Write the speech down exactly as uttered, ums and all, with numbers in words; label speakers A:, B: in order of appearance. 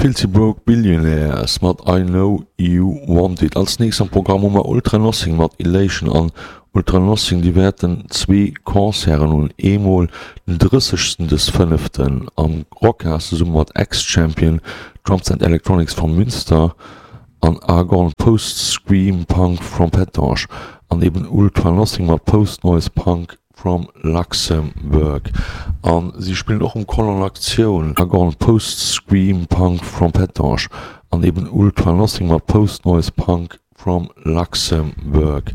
A: Filthy Broke Billionaires mat I Know You Want It. Als nächst am Programm hu mer Ultra Nothing mat Elation an Ultra Nothing déi wäerten zwee Concerten hunn, eemol den drëssegsten des fënneften am Rockhas zesumme mat Ex-Champion Drums and Electronics from Münster an Argon Post Scream Punk from Pétange an eben Ultra Nothing mat Post Noise Punk from Luxembourg an si spillen och um Call on Aktioun Argon Post Scream Punk from Pétange an eben Ultra Nothing mat Post Noise Punk from Luxembourg.